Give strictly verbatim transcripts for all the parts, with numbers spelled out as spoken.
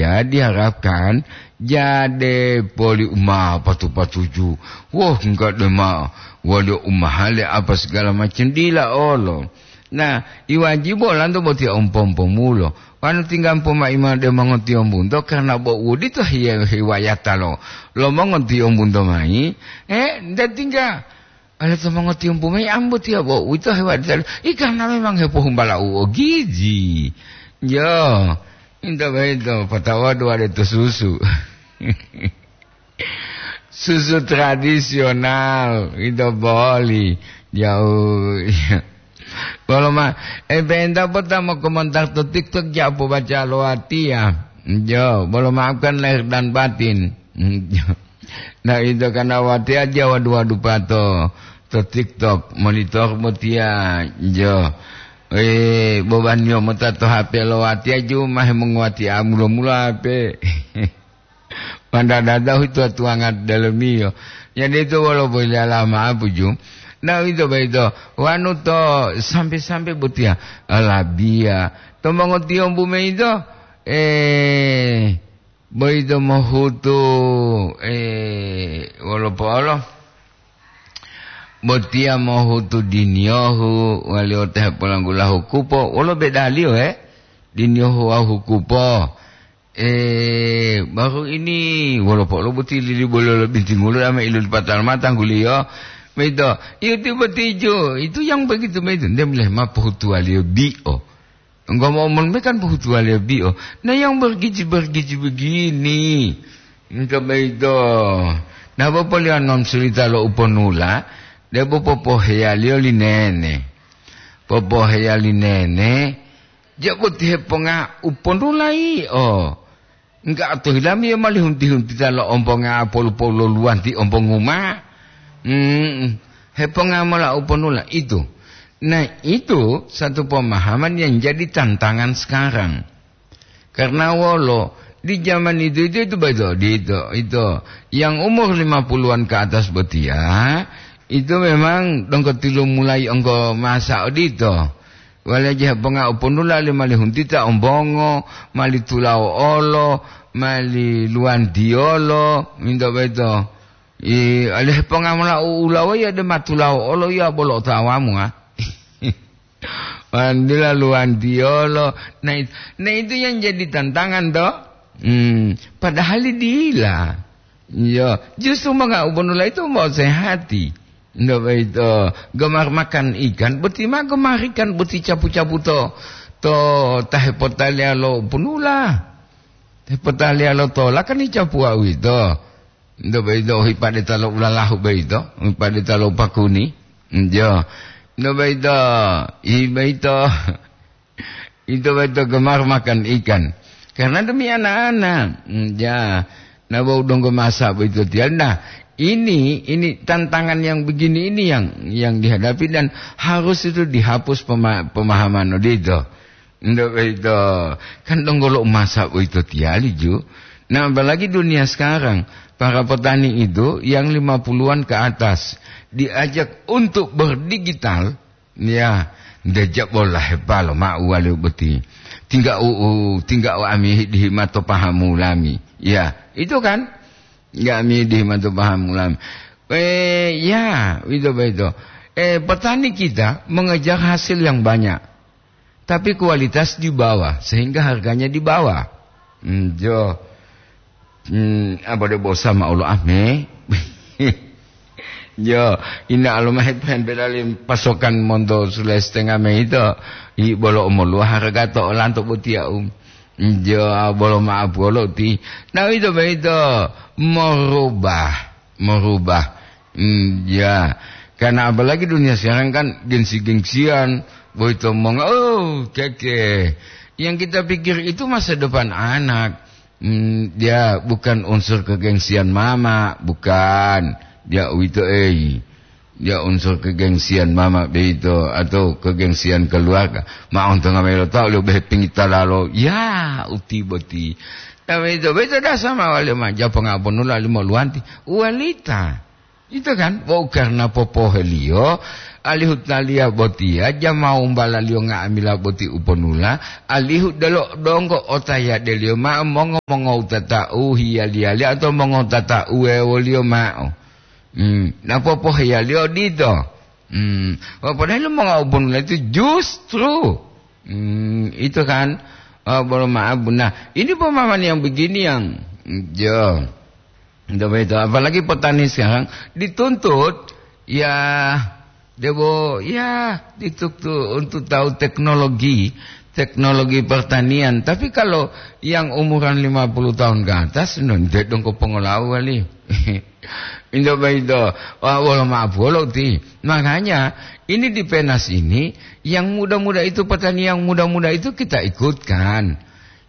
Ya, diharapkan jade poli uma patu-patuju. Woh, enggak deh, ma. Wali umahale apa segala macam dila olo. Nah, iwajibu olanto boti ompo-ompomulo. Wanu tinggampo maima de mongotiyombunto karena bo wudito hiye-, hiwayata lo, lo mongotiyombunto mai. Eh, nda tingga. Ale to mongotiyombu mayi ambo tiya bo, uwito hewali talu. I karena memang hepohumbala u ogiji. Yo, into boyito, potawodu wale to susu. Susu tradisional, ito boli. Jauh. Bolo ma, eh, penta pota mo komentar to TikTok, ja pobaca lo watiya. Jo, bolo maafkan lahir dan batin. Nah, ito karena watiya ja wadu-wadu pato to TikTok, monitor botiya, jo. Eh, bobaniyo mota to H P lo watiya ju ma hemonguwati a mulo-mulo H P. Mandadada hutuwa-tuwanga dalemiyo. Jadi ito wolo boyilala ma'apu ju. Nah, ito boyito, wanu to sampe-sampe botiya, alabiya. To mongotiyombu mayi ito, eh, boyito mohutu, eh, wolo po'olo. Botiya mohutu diniyohu, wali ote hepolanggulahu kupo, wolo bedaliyo, he? Diniyohu wawu hukupo. Eh, baru ini, wolo po'olo boti lili bolo lo bintingulo ama ilulipata lo mata tangguliyo. Begitu. Iyo, tiba tijo. Itu yang begitu, begitu. Nde mulai ma pohutuwaliyo bio. Engkau mau mon kan pohutuwaliyo bio. Nah, yang bergizi-bergizi begini. Engkau begitu. Nah, bapak lihat non cerita lo uponula. Dia bapak poheyaliyo linene. Popoheya li nene, ja boti heponga u ponula yio. Enggak to hilami yio mali hunti-huntita lo omponga polu-polu lo luwanti omponguma. Hmm, heponga mola u ponula itu. Nah, itu satu pemahaman yang jadi tantangan sekarang. Karena wolo, di zaman itu, itu, itu betul, di itu, itu. Yang umur lima puluhan ke atas botia, itu memang donggo tilu mulai onggo masa odito. Wale je ponga uponula le mali huntita ombongo, mali tulao olo, mali luwantiolo, minto beto. I, ale ponga mola u-, ulawa ya de matulao olo ya bolo otawamu, ah. Wandila luwantiyolo. Nah, it-, nah, itu yang jadi tantangan, toh. Hmm, padahal dila. Iya, justru manga ubonula itu mau sehati. Ndak baik, toh. Gemar makan ikan, boti ma gemar ikan, boti capu-capu to, to tahe potaliya lo punula. Tahe potaliya lo tola kan icapu awito. Nto boyito hipade talo ulalahu boyito, hipade talo pakuni. Njo. Nto boyito, i boyito. Ito boyito gemar makan ikan. Karena demi anak-anak. Hmm, ya. Nah, bau donggo masa boyito tiya. Nah, ini, ini tantangan yang begini ini yang, yang dihadapi dan harus itu dihapus pema-, pemahaman odito. Ndak boyito, kan donggo lo masa boyito tiyali ju. Nah, apalagi dunia sekarang, para petani itu yang lima puluhan ke atas diajak untuk berdigital, ya, ndeja bola hepalo ma uwali boti. Tingga u, u, tingga u ami dihimato pahamu lami. Ya, itu kan? Nggak ami dihimato pahamu lami. Eh, ya, itu boyito. Eh, petani kita mengejar hasil yang banyak. Tapi kualitas di bawah, sehingga harganya di bawah. Hmm, jo. Hmm, apa de bosa ma olo ame? Jo, ina alo mahe pen pedali pasokan monto sule setengah me ito. I bolo omoluwa harga to olanto botiya, um. Jo, bolo maaf bolo ti. Nah, itu boyito merubah. Merubah. Hmm, ya. Karena apalagi dunia sekarang kan gengsi-gengsian, boyito monga, oh, keke. Yang kita pikir itu masa depan anak. Hmm, dia bukan unsur kegengsian mama, bukan. Dia uwito ei. Dia unsur kegengsian mama beito atau kegengsian keluarga. Ma ontonga melo tau lo behe pingita lalo. Ya, uti boti. Nah, beito, beito dasar ma wali ma japonga ponula limo luwanti. Uwalita. Ito kan, bo karna popoheliyo, alihu taliya botiya, jama wumbalaliyo nga'amila boti uponula, alihu delo donggo otayadeliyo ma'o mongo-mongowutata u hiyali-yali atau mongowutata u wewoliyo ma'o. Hmm, na popoheyaliyo odito. Hmm, wa padahal monga uponula itu justru, hmm, itu kan, oh, bolo maaf. Nah, ini pemahaman yang begini yang, ya, ndak begitu. Apalagi petani sekarang dituntut, ya, debo, ya, dituntut untuk tahu teknologi, teknologi pertanian. Tapi kalau yang umuran lima puluh tahun ke atas, no, ndak dongko pongolawu kali. Indo boyito, wa-, wolo ma'o polo ti. Makanya, ini di Penas ini, yang muda-muda itu, petani yang muda-muda itu kita ikutkan.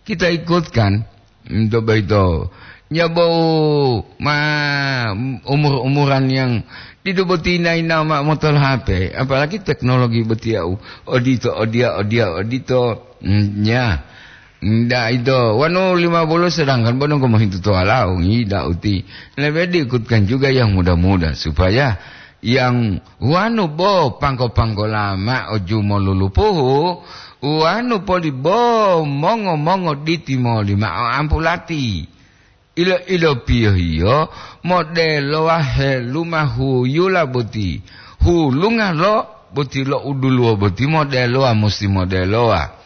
Kita ikutkan. Indo boyito. Nyabou ma umur-umuran yang didu boti ina-ina ma motol H P, apalagi teknologi boti yau. Odito, odia, odia, odito. Mm, ya. Nda ito, wanu lima puluh sedangkan bo donggo mohintu to walau, ngida uti. Lebe diikutkan juga yang muda-muda, supaya yang wanu bo panggo-panggola ma'o jumolulupuhu, wanu poli bo mongo-mongo ditimoli ma'o ampulati. Ilo-, ilopiyohiyo, modelowa heluma huyula boti. Hulunga lo boti lo uduluwo boti modelowa, musti modelowa.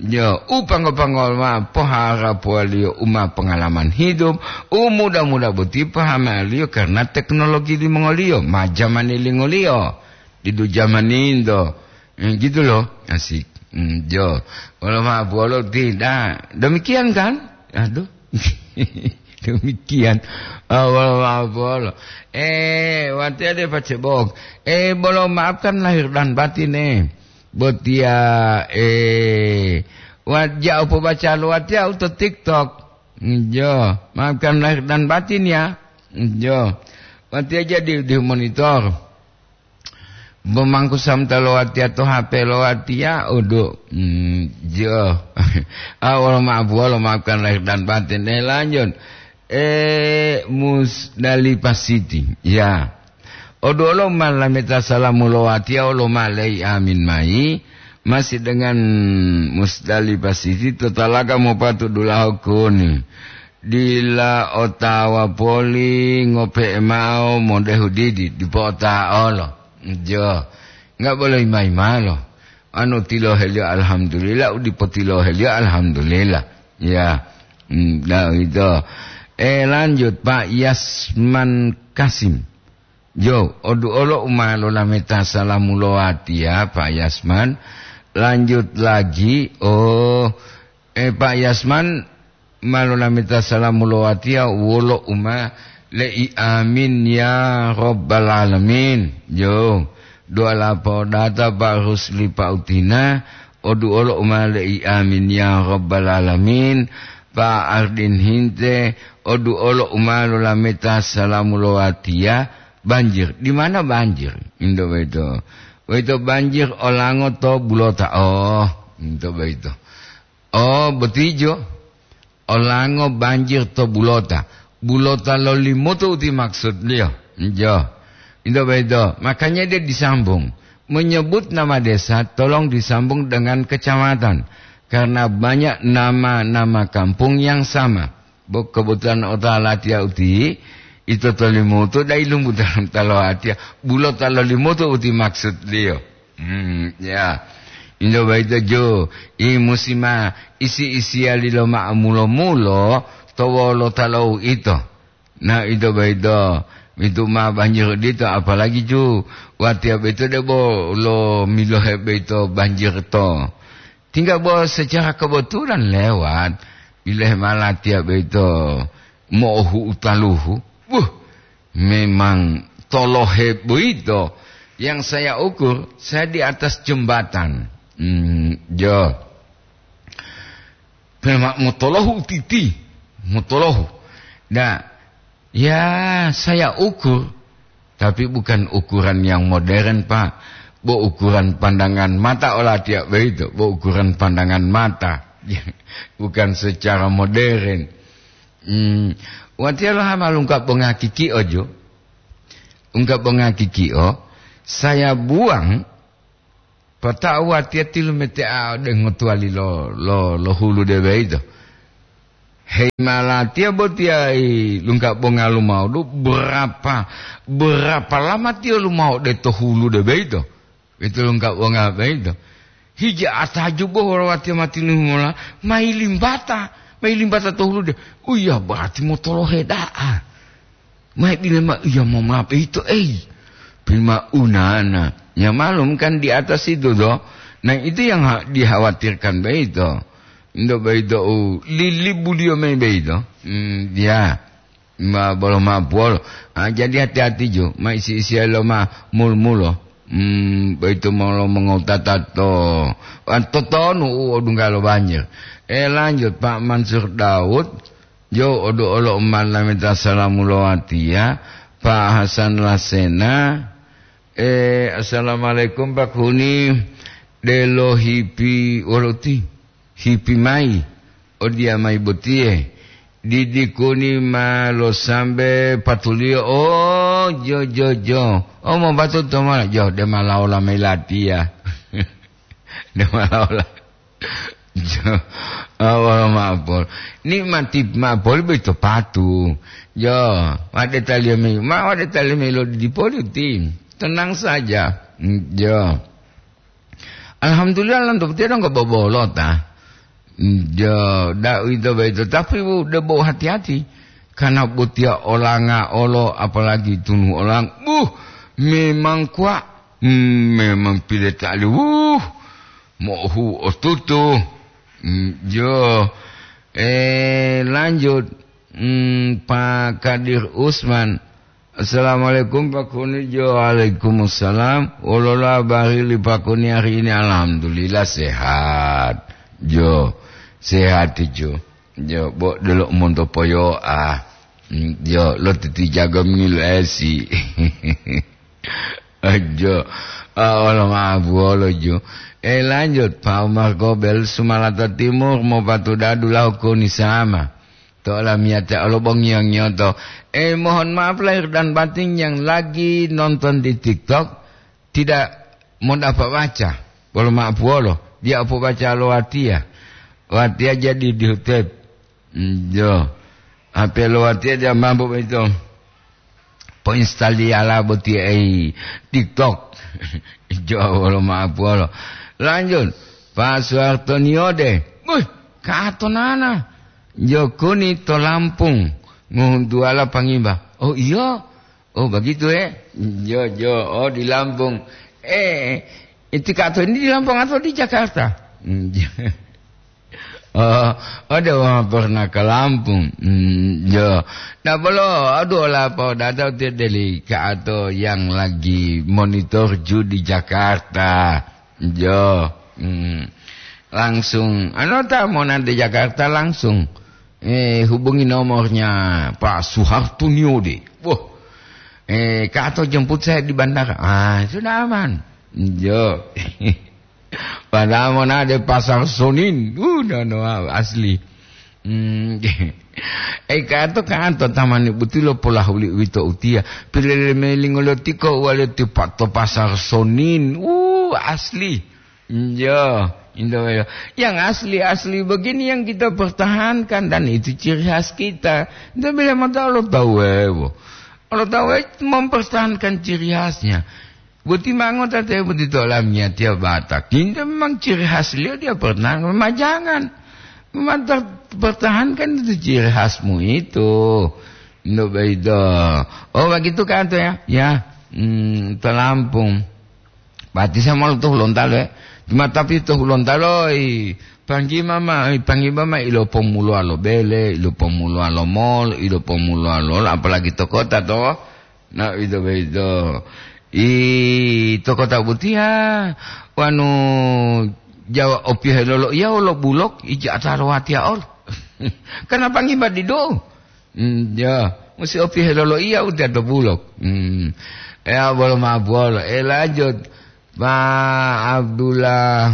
Yo, u panggo-panggo ma poharapuwaliyo u ma pengalaman hidup, u muda-muda boti pahamaliyo karena teknologi limongoliyo, ma jamani lingoliyo, didu jamani into. Eh, gitu loh, asik. Hmm, jo. Kalau ma bolo tidak. Demikian kan? Aduh. Demikian. Ah, wolo ma'o bolo. Eh, watiya de pacebok. Eh, bolo maafkan lahir dan batin, eh. Botiya, eh, wa-, ja upobaca lo watiya u to TikTok. Jo, maafkan lahir dan batin ya. Jo. Watiya jadi di monitor. Bo mangku samta lo watiya to H P lo watiya, udu. Hmm, jo. Ah, wolo maaf, wolo maafkan lahir dan batin. Eh, lanjut. Eh, Musdalifah City. Ya. Oduolo ma lameta salamu lo watiya, olo ma lei amin mayi. Masih dengan Musdalifah City, to talaga mopatu dulaho kuni. Dila otawa poli ngope'e ma'o modehu didi, dipo ota'olo. Jo. Enggak boleh ima-imalo. Anu tiloheliyo alhamdulillah, u dipo tiloheliyo alhamdulillah. Ya. Hmm, nah, itu. Eh, lanjut, Pak Yasman Kasim. Jo, oduolo u ma lolameta salamu lo watiya, Pak Yasman. Lanjut lagi, oh, eh, Pak Yasman, ma lolameta salamu lo watiya wolo u ma le'i amin ya rabbal alamin. Jo, doa lapodata Pak Rusli Pak Utina, oduolo u ma le'i amin ya rabbal alamin. Pak Ardin Hinte, oduolo u ma lolameta salamu lo watiya, banjir. Di mana banjir? Indo boyito. Boyito banjir olango to bulota. Oh, indo boyito. Oh, botijo. Olango banjir to bulota. Bulota lo Limutu uti maksudliyo. Jo. Indo boyito. Makanya dia disambung. Menyebut nama desa, tolong disambung dengan kecamatan. Karena banyak nama-nama kampung yang sama. Bo kebetulan otawa latiya uti, ito to Limutu dai lumbu dalam talo atiya. Bulota lo Limutu uti maksudliyo. Hmm, ya. Indo boyito jo, i musima isi-isiyali lo ma'o mulo-mulo to wolota lo uito. Nah, ito boyito, itu ma banjir dito, apalagi ju watiya boyito debo lo milohe boyito banjir to. Tinggal bo secara kebetulan lewat, bilohe ma latiya boyito mo'ohu'u taluhu. Wuh, memang tolohe boyito. Yang saya ukur, saya di atas jembatan. Hmm, jo. Pema motolohu titi, motolohu. Nah, ya saya ukur, tapi bukan ukuran yang modern, Pak. Bo ukuran pandangan mata olatiya boyito, bo ukuran pandangan mata. Bukan secara modern. Hmm, watiya lo hama lungka bonga kiki ojo. Ungga bonga kikio, saya buang, pata'u watiya tilumetea ode ngotuwali lo, lo, lo hulu de boyito. Hei malatiya botiya i lungga bonga lumao du, berapa, berapa lama tiyo lumao de to hulu de boyito? Itu lungga bonga boyito. Hija atajubo wolo watiya matinuhu mola, mayi limbata, mayi limbata to hulu de. Uya, berarti motolohe da'a. Mayi dile ma iya momape ito, ei. Pima unana. Ya malum kan di atas itu do. Nah, itu yang ha-, dikhawatirkan beito. Ndo beito u lilibuliyo mayi beito. Hmm, ya. Ma bolo ma puwolo. Ah, jadi hati-hati jo. Ma isi-isi lo ma mul-mulo. Hmm, beito molo mongotata to. Ah, totonu u odunggalo banjir. Eh, lanjut, Pak Mansur Daud. Jo, odu olo umat lameta salamu lo watiya, Pak Hasan Lasena. Eh, assalamualaikum, Pak Huni. Delo hipi wolo ti? Hipi mayi. Odiya mayi botiye. Didi kuni ma lo sambe patuliyo. Oh, jo, jo, jo. Oh, mo batu to ma. Jo, de ma laola mayi latiya. De ma laola. Jo, awal ma'apol. Nikmati ma'apol boyito patu. Jo, wade taliyo mayi, ma wade taliyo mayi lo didi poli uti. Tenang saja. Jo. Alhamdulillah, lanto botiya donggo bobolota. Jo, da uwito boyito, tapi u debo hati-hati. Karena botiya olanga olo, apalagi tunu olang. Buh, memang kuwa. Hmm, memang pile tali. Wuh, mohu otutu. Hmm, jo. Eh, lanjut. Hmm, Pak Kadir Usman. Assalamualaikum, Pak Kuni. Jo, waalaikumsalam. Wolola bari li Pak Kuni hari ini? Alhamdulillah, sehat. Jo, sehat, jo. Jo, bo delo monto poyo'a. Hmm, jo, lo titi jago mingil esi. Ajo, ah, wolo ma'apu wolo ju. Eh, lanjut, Pak Umar Gobel, Sumalata Timur, mopatudadu lahu koni sama. To olamiyate olo bongiyo-ngiyoto. Eh, mohon maaf lahir dan batin yang lagi nonton di TikTok, tidak mau dapat baca. Wolo ma'apu wolo, dia opo baca lo watiya. Watiya jadi di hutep. Hmm, jo. H P lo watiya dia mampu begitu. Poinstaliyala boti ei TikTok. Jo, wolo ma'apu wolo. Lanjut, Pak Suharto Niode. Wih, kato nana. Jo kuni to Lampung. Ngohuntuwala pangimba. Oh, iyo. Oh, begitu, eh? Jo, jo. Oh, di Lampung. Eh, itu kato ini di Lampung atau di Jakarta? Hmm, jo. Oh, ada orang pernah ke Lampung. Hmm, jo. Nah, bolo, aduh, lah, Pak, datang tu dari ke atau yang lagi monitor ju di Jakarta. Jo. Hmm. Langsung, anu, ta mau nanti Jakarta langsung. Eh, hubungi nomornya Pak Suharto Niode. Wah. Eh, ke atau jemput saya di bandara. Ah, sudah aman. Jo. Padahal monade pasar Sonin. Uh, no, no, asli. Hmm. Eh, kato, kato, tamani butilo pola huli uwito utiya. Pilele melingo lo tiko wale tipa to pasar Sonin. Uh, asli. Iya, indah ya. Yang asli-asli begini yang kita pertahankan dan itu ciri khas kita. Kita bila mata Allah tahu, eh, wo. Allah tahu, eh, mempertahankan ciri khasnya. Boti mango tate boti tolamnya tiap Batak. Ini memang ciri khas beliau, dia pernah memajangan. Memang ter-, pertahankan itu ciri khasmu itu. Ndak beda. Oh, begitu kan tuh ya? Ya. Hmm, telampung. Pati sama lo tuh lontalo, eh. Cuma tapi tuh lontalo, i, panggi mama, i, panggi mama ilo pomulo alo bele, ilo pomulo alo mol, ilo pomulo alo, apalagi to kota to. Nah, itu begitu. I, to kota butia, wanu Jawa opihe lolo iya wolo bulok, ija ataro watia ol. Kenapa ngibadi do? Hmm, ya, musi opihe lolo iya utia to bulok. Hmm. Ya, bolo ma bolo. Eh, lanjut. Pak Abdullah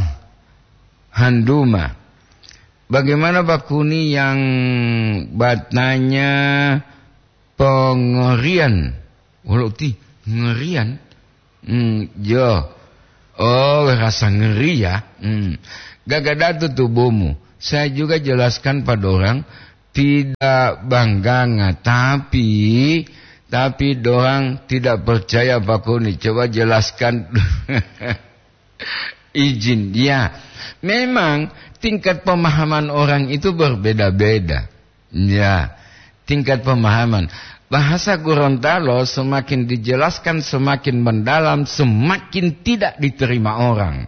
Handuma. Bagaimana Pak Kuni yang batanya pengerian? Wolo ti, Ngerian? Hmm, yo. Oh, rasa ngeri ya. Hmm. Gagada tubuhmu. Saya juga jelaskan pada orang, tidak bangga, tapi, tapi dorang tidak percaya, Pak Kuni. Coba jelaskan. Izin, ya. Memang tingkat pemahaman orang itu berbeda-beda. Ya, tingkat pemahaman. Bahasa Gorontalo semakin dijelaskan, semakin mendalam, semakin tidak diterima orang.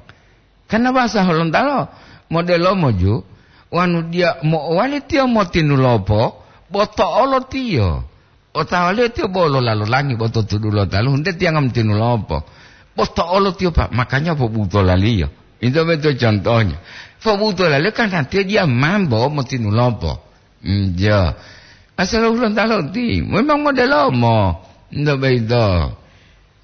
Karena bahasa Gorontalo modelo moju, wanu dia mo wali tio motinulopo, boto'olo tio. Otawaliyo tiyo bo lolalo langi bo to tudu lo taluhu, nte tiyanga motinu lopo. Bo to'olo tiyo, Pak, makanya pobutolaliyo. Ito beto contohnya. Pobutolaliyo karena tiyo diya mambo motinu lopo. Njo. Asal ulang talo ti, memang modelomo. Nto beito.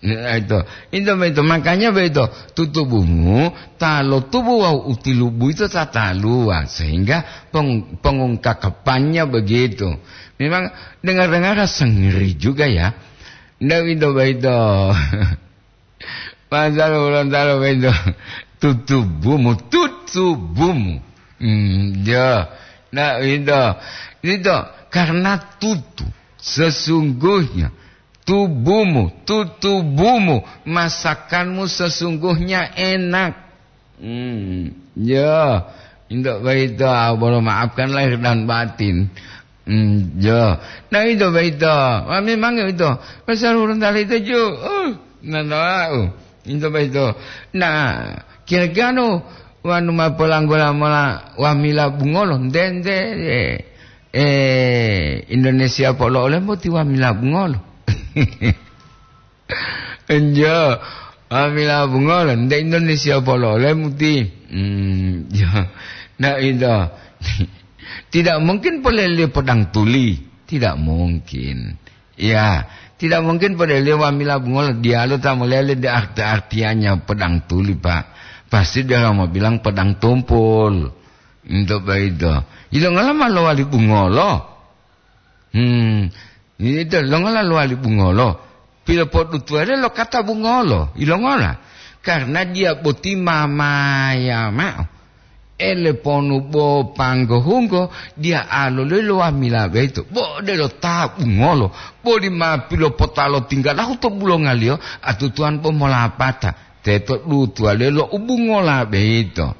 Nah, itu. Itu begitu. Makanya begitu, tutubumu ta lotubu wawu utilubu itu tataluwa, sehingga peng-, pengungkakapannya begitu. Memang dengar-dengar rasa ngeri juga ya. Ndak itu begitu. Pasal ulang talu begitu. Tutubumu, tutubumu. Hmm, ya. Nah, itu. Itu karena tutu. Sesungguhnya tubumu, tutubumu, masakanmu sesungguhnya enak. Hmm, ya, indak baito, ah, bolo maafkan lahir dan batin. Hmm, ya. Nah, itu baito. Ah, memang itu. Pasal urusan tali itu ju. Uh, nah, nah, uh. Itu baito. Nah, kira-kira nu wanu mapolanggola mola wamila bungolo, nde, nde, eh, eh, Indonesia polo olemu ti wamila bungolo. Enjo, wamila bungolo, nde Indonesia polo olemu ti. Hmm, ya. Nah, itu. Tidak mungkin polele pedang tuli. Tidak mungkin. Ya, tidak mungkin polele wamila bungolo. Diyalu ta molele de arti-artiannya pedang tuli, Pak. Pasti dia mau bilang pedang tumpul. Untuk begitu. Ilongala ma lowali bungolo. Hmm, itu longola lowali bungolo. Pilopodutuwaliyo lo kata bungolo. Ilongola? Karena dia boti mamaya mao. Ele ponu bo panggohunggo, dia aloloyi lo wamila boyito. Bo odelo ta bungolo. Boli ma pilopotalo tinggalahu to bulongaliyo, atutuwan bo molapata. Teto dutuwaliyo lo ubungola boyito.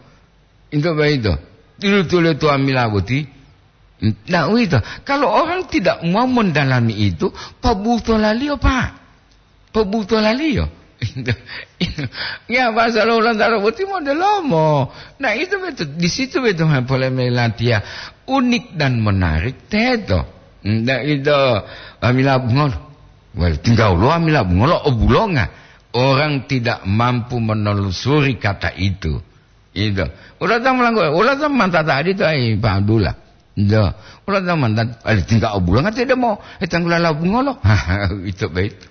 Into boyito. Dilutuliyo to wamila boti. Nah, uwito. Kalau orang tidak mau mendalami itu, pabutolaliyo, Pak. Pabutolaliyo. Ya, bahasa lo ulang talo boti modelomo. Nah, itu betul. Di situ betul polemikiya. Unik dan menarik, teto. Nah, itu, wamila bungolo. Wali, tinggal lo wamila bungolo, obulonga. Orang tidak mampu menelusuri kata itu. Ito. Ula ta mulanggo, ula ta mantata adito ai Pak Abdullah. Ito. Ula ta mantata, ali tingga obulonga te demo, e tanggulala bungolo. Ito boyito.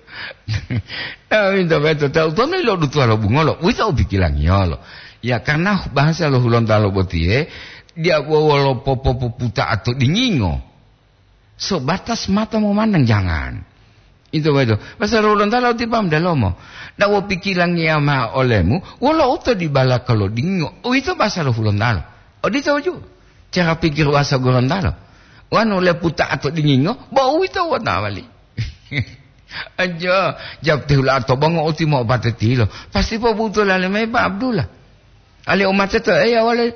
Ah, ito boyito. Tautonu ilo dutuwalo bungolo. Uwito u pikilangiyolo. Ya, karena bahasa lo Hulontalo botiye, dia wolo popopuputa ato dingingo. Sebatas mata memandang, jangan. Itu betul. Pasal Hulontalo ti paham dalomo. Dawo pikilangiya mao olemu, wolo uto di balaka lo dingo. Uwito pasal Hulontalo. Odito ju. Cara pikir wasa Gorontalo. Wanu leputa ato dingingo, bo uwito wona wali. Aja, jawab tihula ato bongo uti mo opate tilo. Pasti pobuto lale mai Pak Abdullah. Ali umate to, eh, ya wale.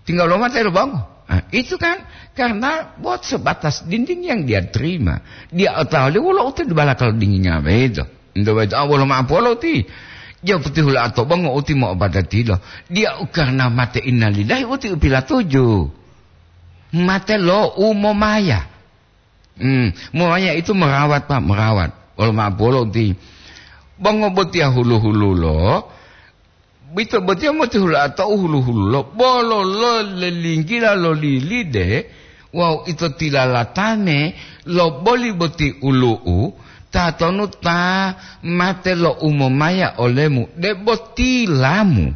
Tinggal lo mate lo bangun. Nah, itu kan karena buat sebatas dinding yang dia terima. Dia tahu dia wala uti di balakal dindingnya begitu. Itu begitu. Ah, wala maaf wala uti. Dia putih hula atau bangun uti mau pada tidak. Dia karena mate innalillahi uti upila tujuh. Mate lo umumaya. Hmm, umumaya itu merawat, Pak, merawat. Wala maaf wala uti. Bangun botia hulu-hulu lo. Ito botiya motihula atau hulu-hululo, bolo lo lelinggila lo lilide, wawu ito tilalatane lo boli boti ulu'u, tatonu ta mate lo umomaya olemu, debo tilamu.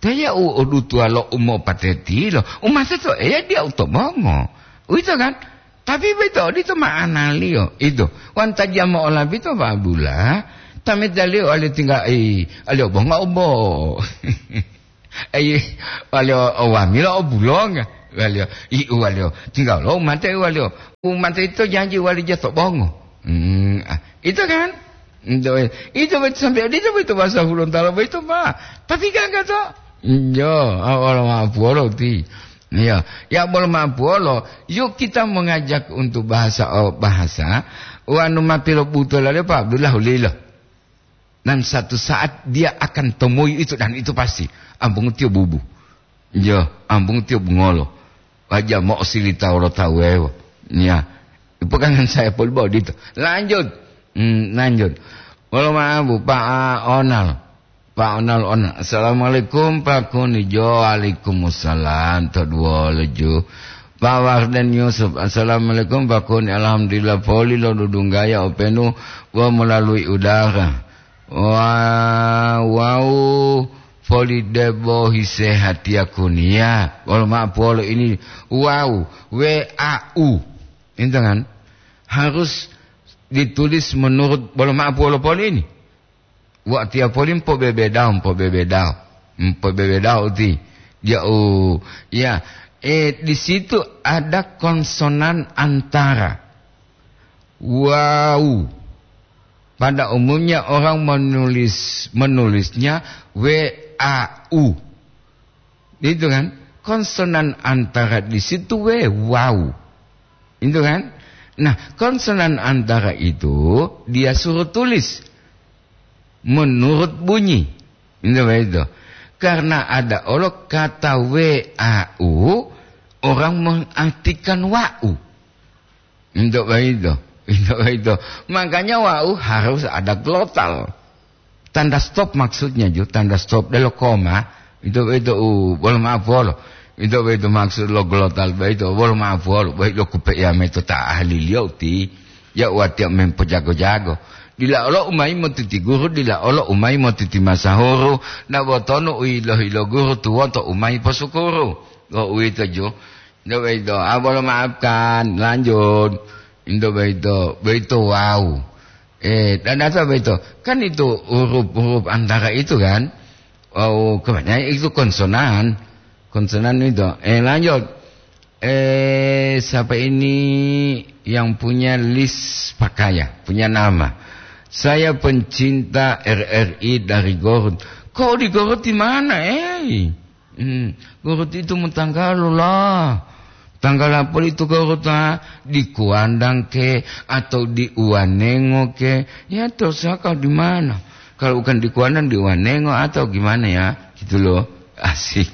Teya u odutuwa lo umopatetilo, umate to Eya diya u to bongo. Uwito kan? Tapi boyito odito ma'analiyo, ito. Wanta jamo olabito, Pak Abdullah, Tameta liyo waliyo tingga, i, aliyo bonga obo. Ayi, waliyo o wamila o bulonga. Waliyo, i, waliyo tingga lo mate waliyo. Umate ito janji wali jato bongo. Hmm, ah, ito kan? Ito, ito beto sampai ito beto bahasa Hulontalo beto, Pak. Tapi kan kata, yo, awal ma puolo ti. Iya, ya bolo ma puolo, yuk kita mengajak untuk bahasa, oh, bahasa, wanu ma pilobuto lale, Pak Abdullah ulilo. Dan satu saat dia akan temui itu, dan itu pasti. Ambung tiyo bubu. Iya, ambung tiyo bungolo. Waja mo silita wolo tawewo. Iya. Ipokangan saya poli bodito. Lanjut. Hmm, lanjut. Wolo ma Bu, Pak Onal. Pak Onal, Onal. Assalamualaikum, Pak Kuni. Jo, waalaikumsalam. To duwolo ju. Pak Warden Yusuf. Assalamualaikum, Pak Kuni. Alhamdulillah, poli lo dudunggaya openu wa melalui udara. Wa-, wau poli debo hisehatiya Kuni ya. Wolo ma puolo ini wau, W A U. Itu kan harus ditulis menurut, bolo ma puolo poli ini. Watiya poli mpobebedao, mpobebedao. Mpobebedao ti. Ya, oh, ya. Eh, di situ ada konsonan antara wau. Pada umumnya orang menulis, menulisnya W A U. Itu kan? Konsonan antara di situ W, wau. Itu kan? Nah, konsonan antara itu dia suruh tulis menurut bunyi. Itu begitu. Karena ada olo kata W A U, orang mengartikan wau. Itu begitu. Itu begitu. Makanya wau harus ada glotal. Tanda stop maksudnya ju, tanda stop delo koma, itu, itu, uh, bolo ma puolo. Itu, itu maksud lo glotal, itu, bolo ma puolo, baik lo kupe ya meto ta ahli liyo ti, ya watiya mempojago-jago. Dila olo umai motiti guru, dila olo umai motiti masahuru, na botonu uilo-ilo guru tuwoto umai posukuru. Lo uwito ju. Itu, itu, ah, bolo maafkan, lanjut. Itu, itu, itu, wow. Eh, dan apa itu? Kan itu huruf-huruf antara itu kan? Oh, kebanyakan itu konsonan. Konsonan itu. Eh, lanjut. Eh, siapa ini yang punya list pakaian, punya nama? Saya pencinta R R I dari Garut. Kok di Garut di mana, eh? Hmm, Garut itu mo tanggalo lah. Tanggalo apa itu Garut, ah? Di Kuandang ke, atau di Uanengo ke? Ya, terserah kau di mana. Kalau bukan di Kuandang, di Uanengo atau gimana ya? Gitu loh. Asik.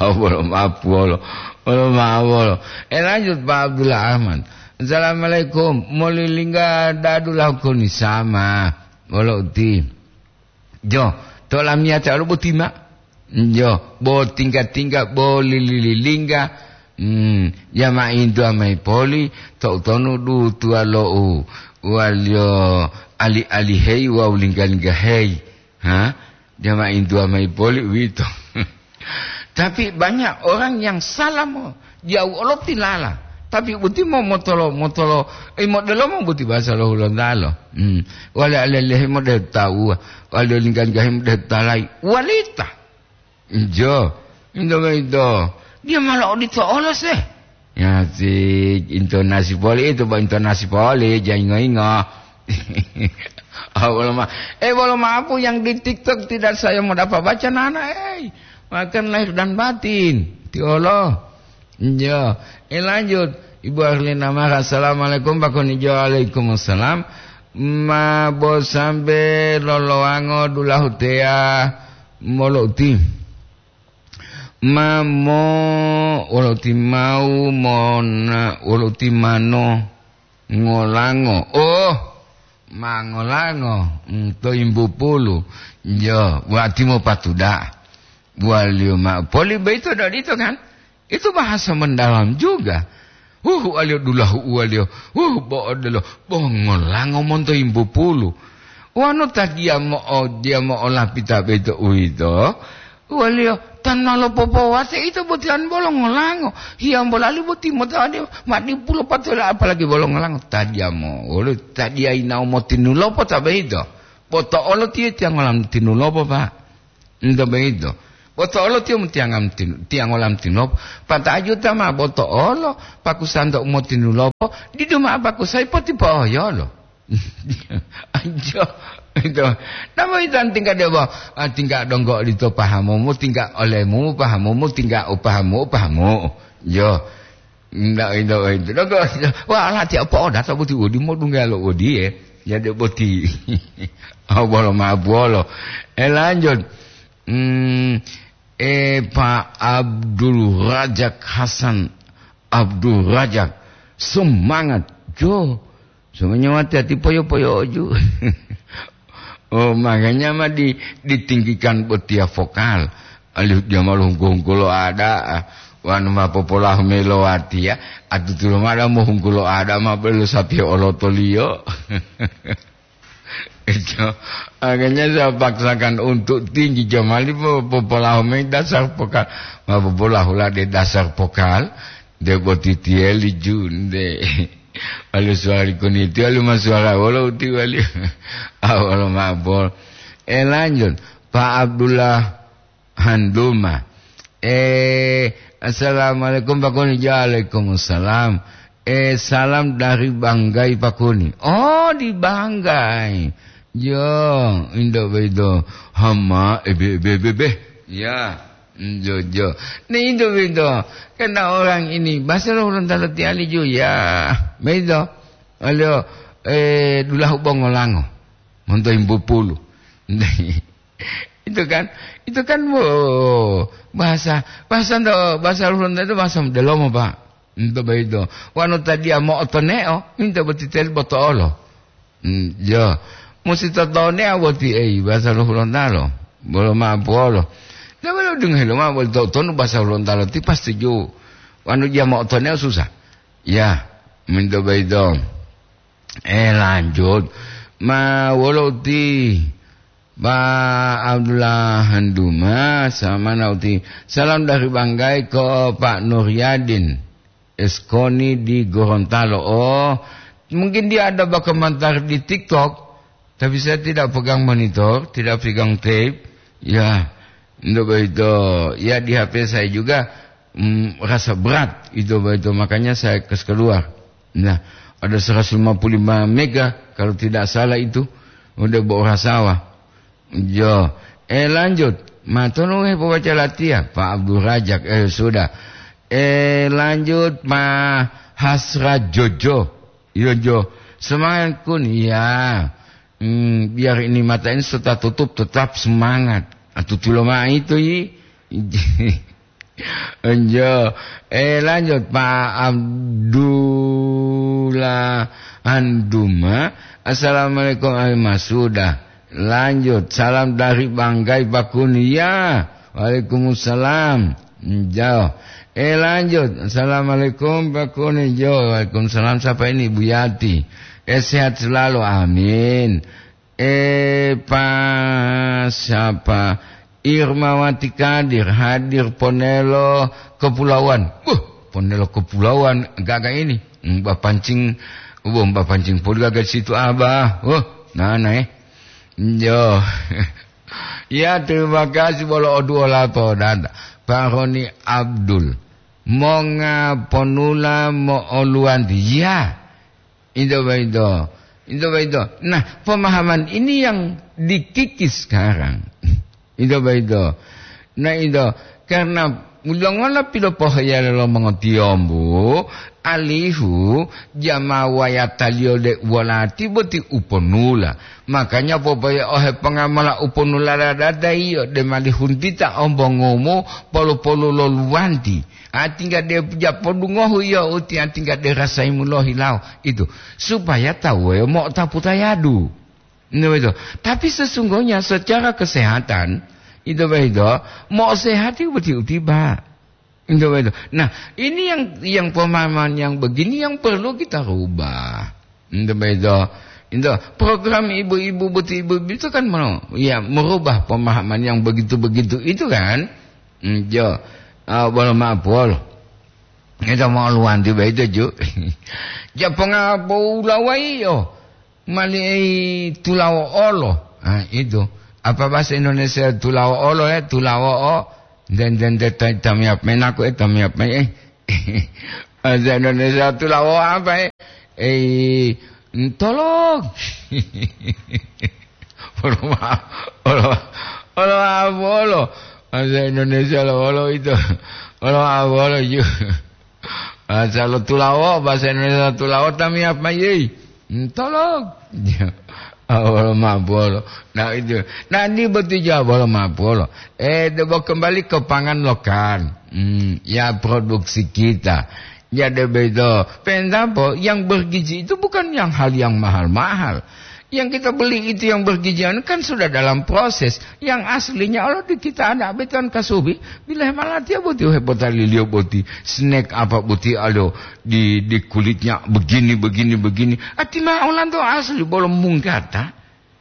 Oh, bolo maaf, bolo. Bolo maaf, bolo. Eh, lanjut, Pak Abdullah Ahmad. Assalamualaikum. Molilingga dadu lau koni sama. Bolo uti. Jo, to lamiyate olo boti ma. Jo, bo tingga-tingga, bo lili-lilingga. Hmm, ya ma intu amai poli, to utonu du tuwa lo u, waliyo ali-alihei wawu lingga-linggaheyi. Ha? Dia ma intu amai poli uwito. Tapi banyak orang yang salah mo, dia olo tilala. Tapi boti mo motolo, motolo, eh, modelo mo boti bahasa lo Hulontalo. Hmm. Wale alelehe mo de tawa, wale lingga-linggahe mo de talai. Walita. Ijo, into boyito, dia ma lo'odito olo se. Ya, si intonasi poli itu, bo intonasi poli, ja ingo-ingo. Ah, bolo ma-, eh, bolo maaf, yang di TikTok tidak saya mau dapat baca, nana, eh. Makan lahir dan batin. Ti olo. Iya. Eh, lanjut. Ibu Arlina Mara, "Assalamualaikum, Pak Konijo." "Waalaikumsalam." Ma bo sambe lolowango dulahu teya molo uti. Ma mo wolo uti mau mona wolo uti mano ngolango. Oh, ma ngolango, mm, to imbu pulu. Yo, wati mo patuda. Waliyo ma poli boyito dodito kan? Itu bahasa mendalam juga. Huh, waliyo dulahu waliyo. Huh, bo odelo. Bo ngolango monto imbu pulu. Wanu ta dia mo'o-, dia mo'olapita boyito uwito, waliyo tan ma lopopowate ito botiyan bolo ngolango. Hiyambo lali boti mota ode ma dipulo patola, apalagi bolo ngolango. Ta dia mo-, wolo ta dia yinawo motinulopo ta boyito. Boto'olo tiyo tiyangolam tinulobo, Pak. Nto boyito. Boto'olo tiyo mutiyangam tinu-, tiyangolam tinulobo. Pata'ajuta ma boto'olo, pakusanto umotinulobo, didu ma'o pakusayi potipo'oyolo. Anjo, ito. Namo ito tingka debo, ah, tingka donggo lito pahamumu, tingka olemu pahamumu, tingka upahamu, upahamu. Jo. Ndak ito, ito. Donggo, wah, lati apa oda, tak buti udi, mau dungga lo udi, eh. Ya, dek boti. Oh, bolo ma bolo. Eh, lanjut. Hmm, eh, Pak Abdul Razak Hasan Abdul Razak, semangat, jo. Semuanya hati-hati poyo-poyo oju. Oh, makanya mah di-, ditinggikan botia vokal. Alih dia malu hunggu-hunggu lo ada, ah. Wanu ma popolahu melo wati ya. Atutulo mada mo hunggu lo ada ma belo sapi olotoliyo. Itu, makanya saya paksakan untuk tinggi, jamali po-, popolaho mayi dasar pokal. Ma popolaho la de dasar pokal, de boti tieli junde. Wali suara kuniti, wali ma suara wolo uti wali. Awal ma bol. Eh, lanjut. Pak Abdullah Handuma. Eh, assalamualaikum, Pak Kuni. Waalaikumsalam. Eh, salam dari Banggai, Pak Kuni. Oh, di Banggai. Jo, indo bedo. Hama, ebe, ebe, ebe, ebe. Ya, jo, jo. Ni indo bedo. Karena orang ini, bahasa lo orang talo tiali jo, ya. Bedo. Alio, eh, dulahu bongolango. Monto imbu pulu. Itu kan, itu kan, wo, bahasa, bahasa ndo, bahasa Hulunta itu bahasa delomo, Pak. Ento boyito. Wanu tadiya mo'otoneo, minta botiteli boto'olo. Hmm, jo. Musi totonea boti, ei, bahasa lo Hulontalo. Bolo ma puolo. Dia bolo dengar lo ma bolo totonu bahasa Hulontalo ti pasti jo. Wanu dia mo'otoneo susah. Ya, minta boyito. Eh, lanjut. Ma wolo ti Pak Abdullah Handuma, sama nauti. Salam dari Banggai ke Pak Nuryadin Eskoni di Gorontalo. Oh, mungkin dia ada berkomentar di TikTok, tapi saya tidak pegang monitor, tidak pegang tape. Ya, untuk begitu, ya di H P saya juga, mm, rasa berat itu begitu, makanya saya kes keluar. Nah, ada seratus lima puluh lima mega kalau tidak salah itu, udah bawa rasawa. Jo. Eh, lanjut. Matonu he pobaca latihan, Pak Abdul Rajak. Eh, sudah. Eh, lanjut, Ma Hasra Jojo. Yo, Jo. Semangat, Kun. Ya. Hmm, biar ini mata ini sudah tutup, tetap semangat. Atutulo ma itu, yi. Enjo. Eh, lanjut, Pak Abdullah Anduma. Assalamualaikum, Alimah. Sudah. Lanjut. Salam dari Banggai, Pak Kuni. Ya. Waalaikumsalam. Enjo. Eh, lanjut. Assalamualaikum, Pak Kuni. Jo. Waalaikumsalam. Siapa ini? Bu Yati. Eh, sehat selalu. Amin. Eh, Pak siapa? Irmawati Kadir hadir ponelo kepulauan. Buh, ponelo kepulauan gaga ini. Mbak pancing, buh, mbak pancing pun gaga situ, Abah. Buh, nana, eh. Yo. Ya, terima kasih, bolo oduo lapo dada. Pak Roni Abdul. Monga ponula mo'oluwanti. Ya. Itu begitu. Itu begitu. Nah, pemahaman ini yang dikikis sekarang. Itu begitu. Nah, itu karena mulongola pilopoheyale lo mongotiyombu, alihu jama wayataliyo de uwolati boti uponula. Makanya popoye ohe pongamala uponula dadada iyo de malihuntita ombongumu polu-polu lo luwanti. Atingga de japodungohu iyo uti atingga de rasaimu lohilawo itu, supaya tawu wuweyo mo'otapu tayadu. Nto boyito. Tapi sesungguhnya secara kesehatan, itu boyito, mo'osehati boti utiba. Nto boyito. Nah, ini yang, yang pemahaman yang begini yang perlu kita rubah. Nto boyito. Nto, program ibu-ibu boti ibu-ibu itu kan mau, ya, merubah pemahaman yang begitu-begitu itu kan. Njo. Ah, bolo maaf, bolo. Ito mau luwanti boyito, ju. Japonga bo ulawaiyo. Mali ei tulawo olo. Ah, itu. Apa bahasa Indonesia tulawo'olo, eh? Tulawo'o. Den, den, den, ta-, tamiyap menaku, eh, tamiyap me-, eh. Bahasa Indonesia tulawo'o apa, eh? Eh, ntolong. Olo ma-, olo, olo ma-, olo. Bahasa Indonesia lo, olo itu. Olo ma-, olo ju. Bahasa lo tulawo, bahasa Indonesia tulawo tamiyap mayi. Hmm, tolong. Awolo mabolo. Nah, itu. Nah, ini betul juga bolo mabolo. Eh, debo kembali ke pangan lokan. Hmm, ya, produksi kita. Ya, debo itu. Pendapo, yang bergizi itu bukan yang hal yang mahal-mahal. Yang kita beli itu yang bergizi anu kan sudah dalam proses. Yang aslinya Allah di kita anak beton kasubi, bila malatiya boti hepotaliliyo boti, snack apa boti alo di, di kulitnya begini, begini, begini. Ati ma olanto asli bolo munggata.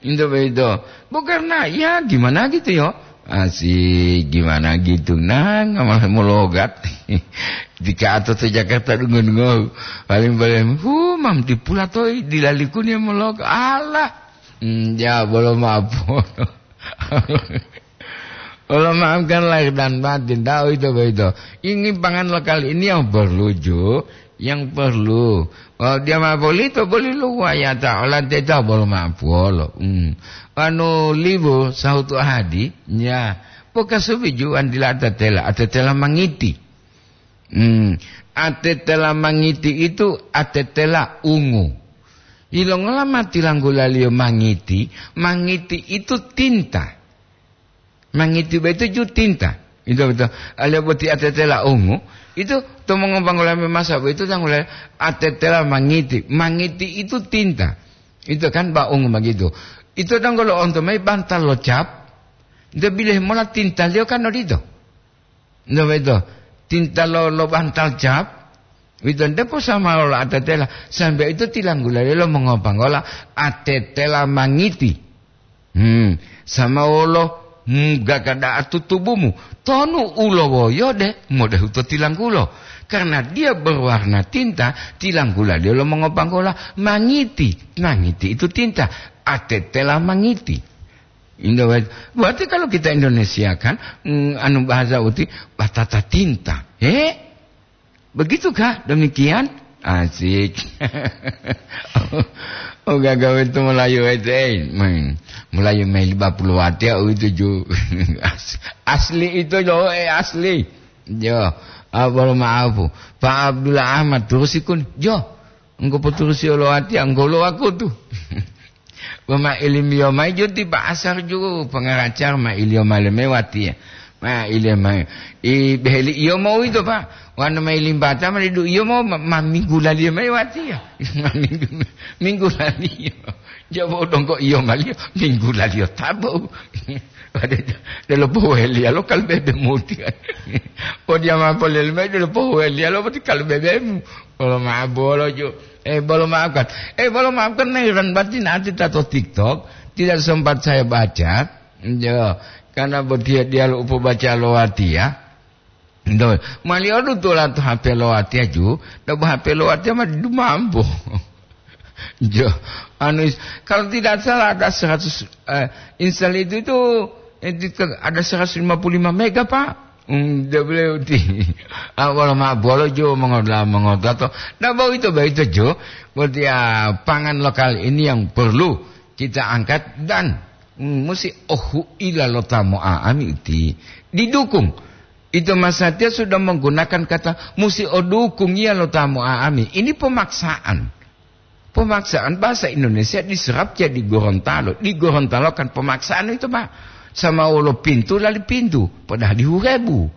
Into begitu. Bukan na, ya gimana gitu yo. Asik, gimana gitu. Nah, ngamal mologat. Dika atau to Jakarta dungo-dungo. Paling-paling, hu, mam dipula toi, dilalikuni mologat. Alah. Hmm, ya, bolo maaf. Allah maafkan lahir dan batin, tahu itu begitu. Ini pangan lokal ini yang perlu, Ju, yang perlu. Kalau dia mau beli itu beli lu wayata, olah teta bolo maaf wolo. Hmm. Anu libu sahutu hadi, ya. Poka subi Ju andila atetela, atetela mangiti. Hmm. Atetela mangiti itu atetela ungu. Ilongola mati langgulaliyo mangiti, mangiti itu tinta. Mangiti boyito ju tinta. Itu betul. Aliyo boti atetela ungu, itu to mongopanggola memasa boyito tanggula atetela mangiti. Mangiti itu tinta. Itu kan ba ungu begitu. Itu donggo lo onto mai bantal lo cap. Nte bilih mola tintaliyo kan odito. Nte boyito. Tinta lo, lo bantal cap. Wito nte posama lo atetela. Sambe itu tilanggula lo mongopanggola atetela mangiti. Hmm, sama wolo, hmm, gaga da'a tutubumu. Tonu ulowoyo de, modehu to tilanggulo. Karena dia berwarna tinta, tilanggula dia lo mongopanggola mangiti. Mangiti itu tinta. Atetela mangiti. Indo-, berarti kalau kita Indonesia kan, mm, anu bahasa uti, batata tinta. Eh? Begitu, Kak? Demikian? Asik. Oh, gagawe itu Melayu itu, eh. Main. Melayu main lima puluh wati, oh, itu ju. As-, asli itu, loh, eh, asli. Jo. Apa lo maaf? Pak Abdullah Ahmad, terus ikun. Jo. Engko poturusi olo watiya, engko olo wakutu. Wama ilimiyo mayi jo ti pa asar jo pangaracar ma iliyo male mayi watiya. Ma iliyo mayi. I beheli iyo mo uwito, Pak. Wanu mayi limbata ma didu iyo mo ma, ma minggu laliyo mayi watiya. Ma minggu, minggu laliyo. Jabo dongko iyo maliyo, minggu laliyo tabo. Delo poheliya lo kalbebe muti. Podiya ma polele mayi delo poheliya lo poti kalbebemu. Bolo maaf bolo ju. Eh, bolo maafkan. Eh, bolo maafkan, nih, ran batin ati tato TikTok. Tidak sempat saya baca. Jo, karena botiya diyalu upo baca lo watiya. Do, mali odu tula to H P lo watiya ju, do H P lo watiya ma dumambo. Jo, anu is-, kalau tidak salah ada seratus, eh, instal itu, itu, eh, di-, ada seratus lima puluh lima mega, Pak. Hmm, dia beliau di, ah, wala ma bolo jo mengoda, mengoda to. Nah, begitu, begitu jo. Berarti, ah, pangan lokal ini yang perlu kita angkat dan, hmm, musi ohu ila lo tamu aami uti. Didukung. Itu Mas Satya sudah menggunakan kata musi odukung iya lo tamu aami. Ini pemaksaan. Pemaksaan bahasa Indonesia diserap jadi Gorontalo. Di Gorontalo kan pemaksaan itu, Pak. Sama wolo pintu lali pintu, padahal dihurebu.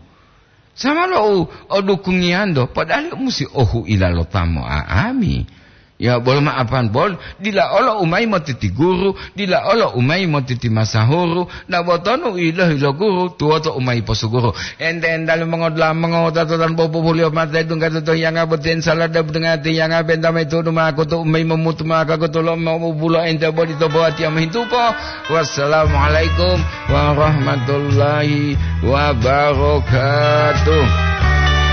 Sama lo o, o dukungiyanto, padahal musi ohu ila lo tamu aami. Ya, bolo maafan bol, dila olo umai motiti guru, dila olo umai motiti masahuru, na botonu ilohi lo guru, tuwoto umai posuguru. Ente-entale mongodula'a mongowutato tan bobubuliyo mate dungga to hiyanga boti, insala debutengati hiyanga benta maitudu ma'akutu umai momutu ma'akakutu lo mobubulo ente boli to bowatiya mohintupo. Wassalamualaikum warahmatullahi wabarakatuh.